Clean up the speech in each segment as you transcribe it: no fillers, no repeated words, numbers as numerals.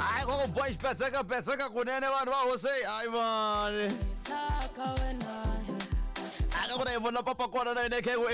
Hayi ko ku boy xipetseka petseka kunene vanhu va hosi hayi mani aka ku na hi vona papa kona na yena khe ku e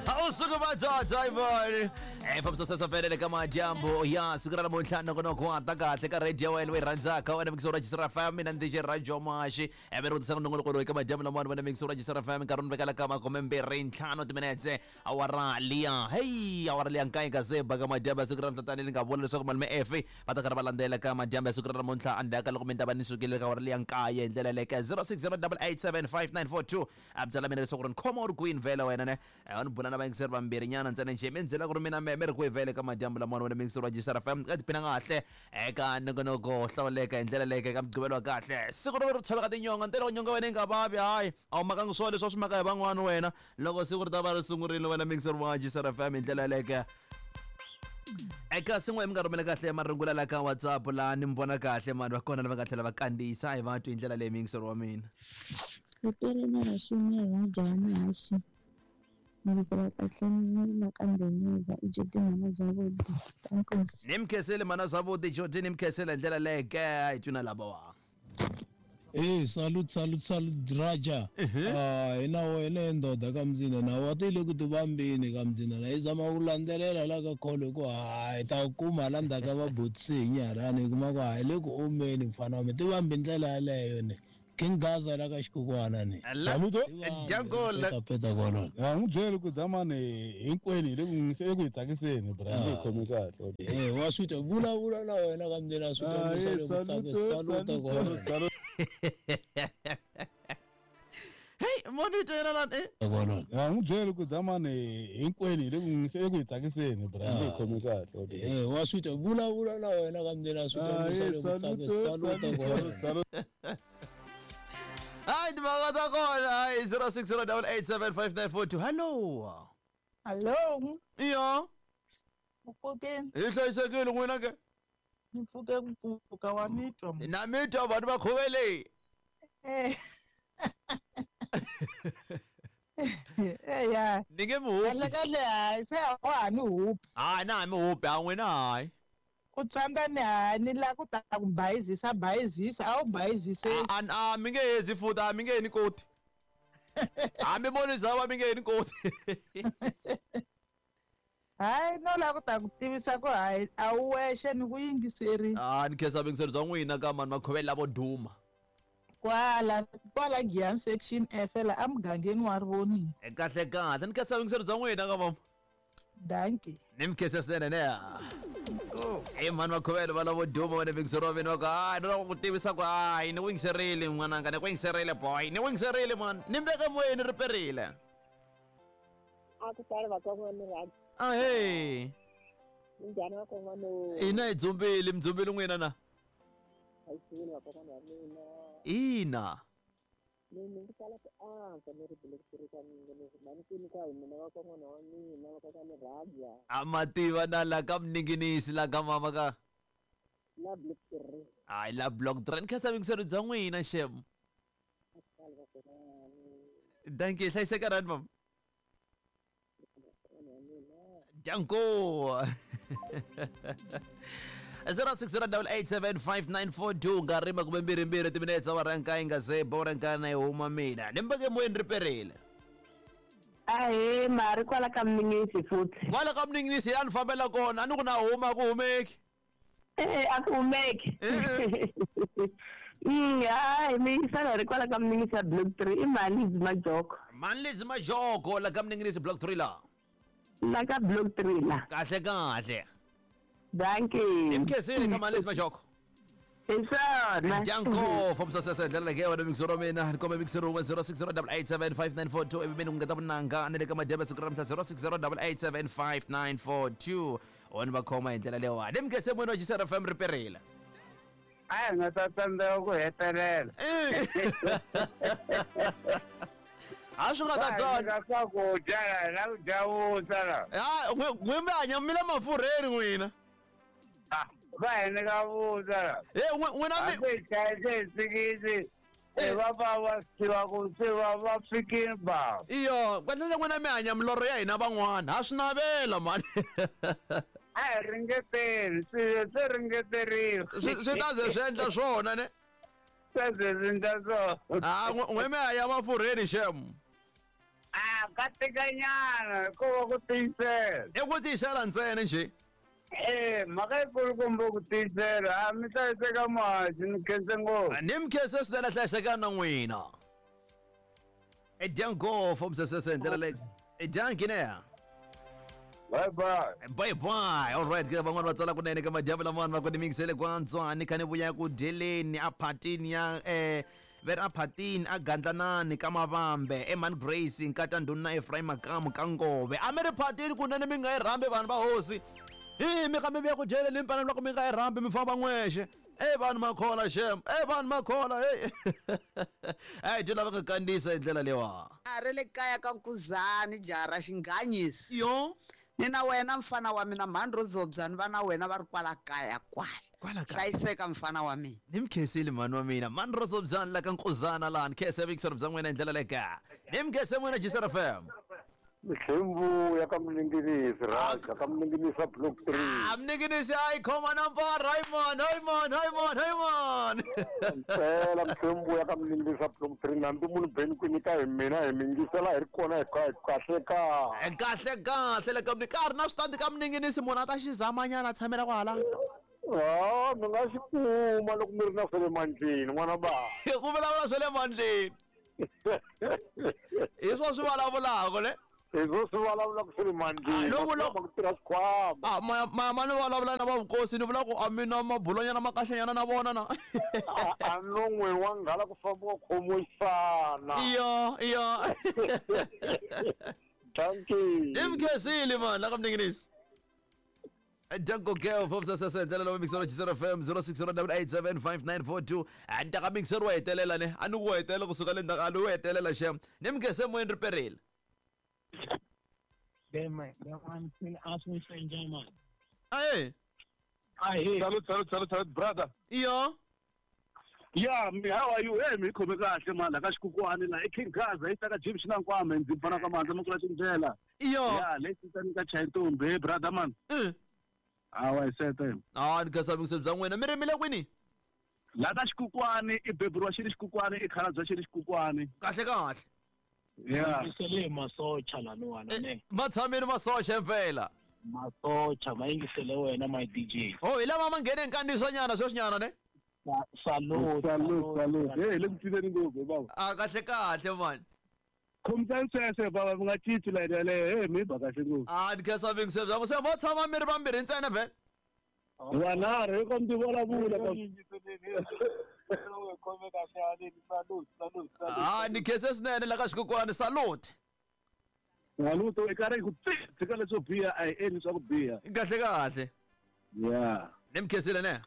a wu suki vatsotso hayi mani e fambisa sesa felele ka madyambu ya siku ra namuntlha nongonoko wa ta kahle ka radio ya wena loyi rhandzaka wena mixo ra Jisra FM mina ndzi Radio Mashi eve ri tisa nongonoko loyi ka madyambu lamawani wena mixo ra Jisra FM nkarhi ni vekela ka 25 timinetse awara liya heyi awara liya nkaye ka se baka madyambu ya siku ra namuntlha tanihi ni nga vula leswaku malume efe va ta karhi va landzela ka madyambu ya siku ra namuntlha endzhaku ka loko mi ta va ni sukile ka awara liya nkaye hi ndlela leyo ka 0608875942 a byela mina leswaku ri ni khoma u ri kwini vhele wena ne a ni bula na vayingiseri vambirhi nyana ntsena njhe mi ndzela ku ri mina me mi ri kwihi vhele ka madyambu lamawani wena muyingiseri wa Jisara FM ka tiphina kahle eka nongonoko wo hlawuleka hi ndlela leyo ka mugqivelo wa kahle siku ro ri tshoveka tinyonga ntirho nyonga wena yi nga vavi hayi a wu makangi swona leswi a swi maka hi van'wana wena loko siku ri ta va ri sungurile wena muyingiseri wa Jisara FM hi ndlela yaleyo eka sin'we mi nga rhumela kahle marungula la ka WhatsApp la ni mi vona kahle mani va kona lava nga tlhela va kandziyisa hi va twi hi ndlela leyi muyingiseri wa mina Ripere na rashumi rajani hashi Mabisela kahle ni la ka Ndemeza i Jodi mhana Zwavhuḓi Danko. Ni mi khensile mhana Zwavhuḓi Jodi ni mi khensile hi ndlela leyo ke a hi twi na lavawa. Hey, salute, salute, salute, Raja. Ah, hina wena he ndoda ka mdzina na wa ti le ku tivambeni ka mdzina na yi zama ku landzelela la ka kholo hi ku hayi ta ku kuma la ndzhaku ka vabotisi hi nyarhani hi kuma ku hayi le ku omeni mfana wa mina tivambi ndlela yaleyo ne King Gaza la ka xikukwana ni. Saluto. Dyangola. Peta kwalano. Ya n'wi byeli ku damani hinkwenu hi le ku n'wi eku hi tsakiseni bra hi khomi kahle. Eh wa swi twa vulavula na wena ka mndeni swi twa musa le ku tsakisa saluta kwalano. Hey, monitor yena lani eh. Kwalano. Ya n'wi byeli ku damani hinkwenu hi le ku n'wi eku hi tsakiseni bra hi khomi kahle. Eh wa swi twa vulavula na wena ka mndeni swi twa musa le ku tsakisa saluta kwalano. Hayi timhaka ta kona hayi 0608875942 hello. Hallo, Iyo, mpfukeni, hi hlayisekile n'wina ke. ni pfuke ku pfuka wa ni twa. Na mi twa vanhu va khuvele. Eh. Eh ya. Ni nge mi hupi. Kahle kahle hayi se a wa ha ni hupi. Hayi na ha mi hupi ha n'wina hayi. Ku tsandza ni hayi ni la ku ta ku bayizisa bayizisa a wu bayizise. A a mi nge hezi futhi a mi nge ni koti. Hambi mo ni zama mi nge ni koti. Hayi no la ku ta ku tivisa ku hayi a wu wexe ni ku yingiseri. Ah ni khensa vuyingiseri bya n'wina ka mani makhuvele lavo duma. Kwala kwala Giyani section F la emugangeni wa Rivoningo. Kahle kahle ni khensa vuyingiseri bya n'wina ka mama. Dankie. Ni mi khensa swinene ne. I mhani makhuvele va lavo duma wena vuyingiseri wa mina va ku hayi ni lava ku tivisa ku hayi ni ku yingiserile n'wananga ni ku yingiserile boy ni ku yingiserile mani ni mbeke moyeni ri perile. A ku sali vakon'wana rhabi. Ahee. Minjhani vakon'wana? Ina hi dzumbile mi dzumbile n'wina na? Hi xivini vakon'wana va mina. Ina. Ni ndzi tala ku antswa ni ri bulekisirika mina ni mhani kwini ka hi mina vakon'wana wa mina vakon'wana rhabya. A mativa na la ka mninginisi la ka mama ka. La block 3. Hayi la block 3 ni khensa vuyingiseri bya n'wina xem. A ku sali vakon'wana. Dankie hlayiseka rani mama. Danko. 0608875942 nkarhi 22 timinetse awara nkaye nga se bora nkana yi huma mina ni mbeke moyeni ri perile Ahee, mari kwala ka mninginisi futhi. Kwala ka mninginisi a ni fambela kona a ni ku na huma ku humeki. Eh, a ku humeki. Hayi mi yisana ri kwala ka mninginisi ya block 3 i mhani Majoko. Mhani Majoko la ka mninginisi block 3 la. La ka block 3 la. Kahle kahle. Dankie. Ni mi khensile ka Mhani Majoko. Hi swona. Danko fambisa sesa hi ndlela leyi wena mixer wa mina ni kombe mixer wun'we 0608875942 ivi mina ku ngeta vunanga ni le ka madyambu ya siku ra namuntlha 0608875942 wona va khoma hi ndlela leyiwani ni mi khense moyeni wa Jisara FM ri perile. A hi nga ta tsandzeka ku hetelela. A swi nga ta tsana. Va swakudya la la ku dya vuswa la. Ha n'we mi hanya mi le mafurheni n'wina. Va hi nyika vuswa la. Eh n'wina mi Hambi hi chayise hi sikisi Va va va tiva ku se va va fikile bava. Iyo, kahlekahle n'wina mi hanya milorho ya hina van'wana. Ha swi navela mani. A hi ringeteni, swilo swi ringeteriwa. Swi ta ze swi endla swona ne? Ta ze swi endla swona. Ah, n'we mi hanya mafurheni shem. A ka tikanyana hikuva ku tiyisela. I ku tiyisela ntsena njhe. Mhaka yikulukumba ku tiyisela, a mi hlayiseka muhaxi, ni khense ngopfu. Ni mi khense swinene, hlayisekani na n'wina. I dya ngopfu msesese hi ndlela leyi. I dya ngineya. Bye bye. Bye bye. All right, ke van'wana va tsala kunene ka madyambu lamawani va ku ni mingisele kwantswa ni kha ni vuya ku dyeleni a phatini ya ve ri a phatini a gandlanani ka mavambe eman Grace nkata ndhuna Ephraim Makamu ka Ngove. A mi ri phatini kunene mi nga yi rhambi vanhu va hosi. Hi mi kha mi vuya ku dyeleni mi fanele loko mi nga yi rhambi mi famba n'wexe. Ey vanhu makhola shem. Ey vanhu makhola hey. Ey dyi lava ka kandziyisa hi ndlela leyiwa. A ri le kaya ka Nkuzani jaha ra Xinghanyisi. Yo. Ni na wena mfana wa mina mhani Rozobyani va na wena va ri kwala kaya kwala. Kwala kaya. Hlayiseka mfana wa mina. Ni mi khensile mhani wa mina. Mhani Rozobyani la ka Nkuzana laha ni khense vuyingiseri bya n'wina hi ndlela leyi ka. Ni mi khense n'wina Jisera FM. Mihlembu ya ka Mninginisi, Raja ka Mninginisi a Block 3. Ah, Mninginisi hayi khoma na mpara, hayi man, hayi man, hayi man, hayi man. Mpela Mihlembu ya ka Mninginisi a Block 3 nambi munhu beni kwini ka hi mina hi mingisela hi ri kona hi kahle ka. Kahle kahle le ka Mninginisi. Ka ha ri na switandi ka Mninginisi munhu a ta xi zamanyana a tshamela kwala. Ah, mi nga xi kuma loko mi ri na swa le mandleni n'wana ba. Ku vulavula swa le mandleni. Hi swo swi vulavulaka ne? Hi swo swi vulavulaka swa le mandleni. Loko ku tirha xikhwama. Ah, ma ni vulavula na va vukosi ni vula ku a mina mabulonyana ma kahlenyana na vona na. A non'weni wa nghala ku fambiwa khomoyisana. Iyo, iyo. Thank you. Imkhesile man la ka Mninginisi. Jungle Girl from Sasasa ndlela lowu mixero Chisero FM 0608875942 a ni ta ka mixero wa hetelela ne a ni ku hetelela kusuka le ndzhaku a ni wu hetelela xem ni mi khense moyeni ri perile. Aye. Aye. Salute, salute, salute, salute, brother. Iyo. Yeah, me, how are you? Hey, mi khome kahle man, la ka xikukwani la i King Gaza, i ta ka Jim Xinankwama, ndzi pfana ka mandla makula tindlela. Iyo. Yeah, le titani ka Chayitombe, hey, brother man. Awa hi sete. Ah, ni khensa vuyingiseri bya n'wina. Mi rimile kwini? La ka xikukwani i beburiwa xi ri xikukwani, i khalabya xi ri xikukwani. Kahle kahle. Yeah. Yingisele masocha laniwana ne. Ma tshamile masocha mpela. Masocha ma yingisele wena my DJ. Oh, hi lama ma nghene nkandziyisonyana sweswinyana ne? Salute, salute, salute. Hey, le ku cineni ngopfu baba. Ah, kahle kahle man. Khomisani sweswo baba, mi nga cinci layeni yaleyo. Hey, mi ba kahle ngopfu. Ah, ni khensa vuyingiseri bya n'wina. Se mo tshama mi ri vambirhi ntsena vhele? Wanharhu hi ko mi vulavula ka. Ah, ni khense swinene la ka xikokwani. Salute. Salute, i karhi ku tshika leswo biha a hi endli swa ku biha. Kahle kahle. Yeah. Ni mi khensile ne?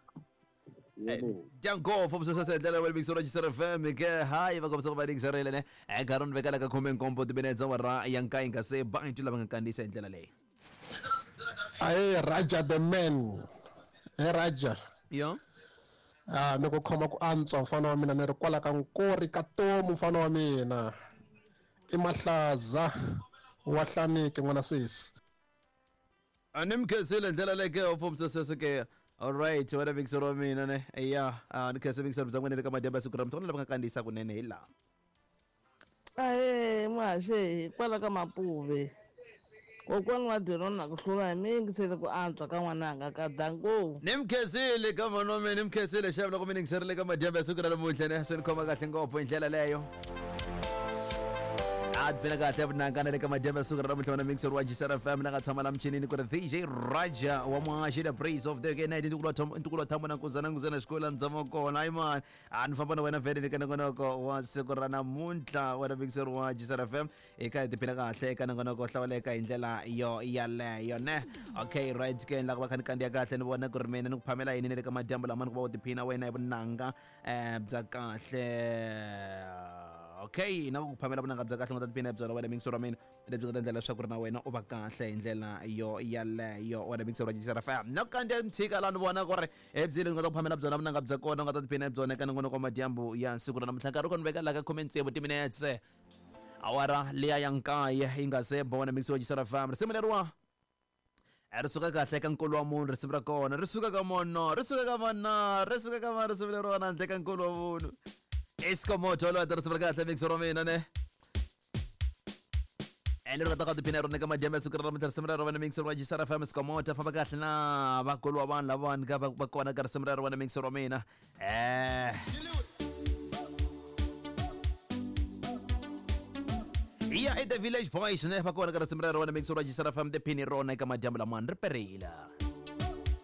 Dyango from Sasasa ndlela wa mixero Chisero FM ke hayi va kombisa ku va yingiserile ne nkarhi ni vekela ka 17 timinetse awara ya nkaye nga se bantu lava nga kandziyisa hi ndlela leyi. Aye, Raja the man. Hey Raja. Yo. Ah, ni ku khoma ku antswa mfana wa mina ni ri kwala ka nkori ka tomu mfana wa mina. I mahlaza wa hlanike n'wana sesi. A ni mi khensile ndlela leyi ke from Sasasa ke. All right, wena mixero wa mina ne. Yeah, ni khense mixero bya n'wina le ka madyambu ya siku ra muthu lava nga kandziyisa kunene hi laha. Ahe, muhaxi kwala ka Mapuve. Kokwani wa Dirona ku hlula hi mi yingisele ku antswa ka n'wananga ka danko. Ni mi khensile ka mhani wa mina, ni mi khensile xava loko mi yingiserile ka madyambu ya siku ra namuntlha ne swi ni khoma kahle ngopfu hi ndlela leyo. A ti kahle vunanga le ka madyambu ya siku ra namuntlha wena mixer wa Jisera FM la nga tshama la michinini ku ri DJ Raja wa Muhaxi the praise of the night ntukulu wa thambo na nkuzana nkuzana xikolo ndzama kona hayi man a ni famba na wena vhele ni ka nongonoko wa siku ra namuntlha wena mixer wa Jisera FM eka hi tiphina kahle eka nongonoko hlawuleka hi ndlela yo yaleyo ne. Okay, right ke la ku va kha ni kandziya kahle ni vona ku ri mina ni ku phamela yini le ka madyambu lama ni ku va u tiphina wena hi vunanga bya kahle. Okay, na ku phamela vunanga bya kahle u nga ta tiphina hi byona wena mixer wa mina, lebyi nga ta endla leswaku ri na wena u va kahle hi ndlela yo yaleyo, wena mixer wa Jisera FM. Na ku kandziya mtshika laha ni vona ku ri ebyi lebyi nga ta ku phamela byona vunanga bya kona u nga ta tiphina hi byona eka nongonoko wa madyambu ya siku ra namuntlha. Nkarhi wu kona veka laha ka 16 timinetse awara liya ya nkaye yi nga se ba, wena mixer wa Jisera FM. Risimu leriwa ri suka kahle ka nkulu wa munhu, risimu ra kona ri suka ka mono, ri suka ka mana, ri suka ka mana, risimu leriwana handle ka nkulu wa munhu iskomoto loyi ta risimu ra kahle mixer wa mina ne ene ri nga ta ka tiphina rona eka madyambu ya siku ra namuntlha. Risimu ra rona mixer wa Jisara FM Skomota, famba kahle na vakulu wa vanhu lavawani ka va kona ka risimu ra rona mixer wa mina. Ya i The Village Boys ne va kona ka risimu ra rona mixer wa Jisara FM, tiphini rona eka madyambu lamani ri perile.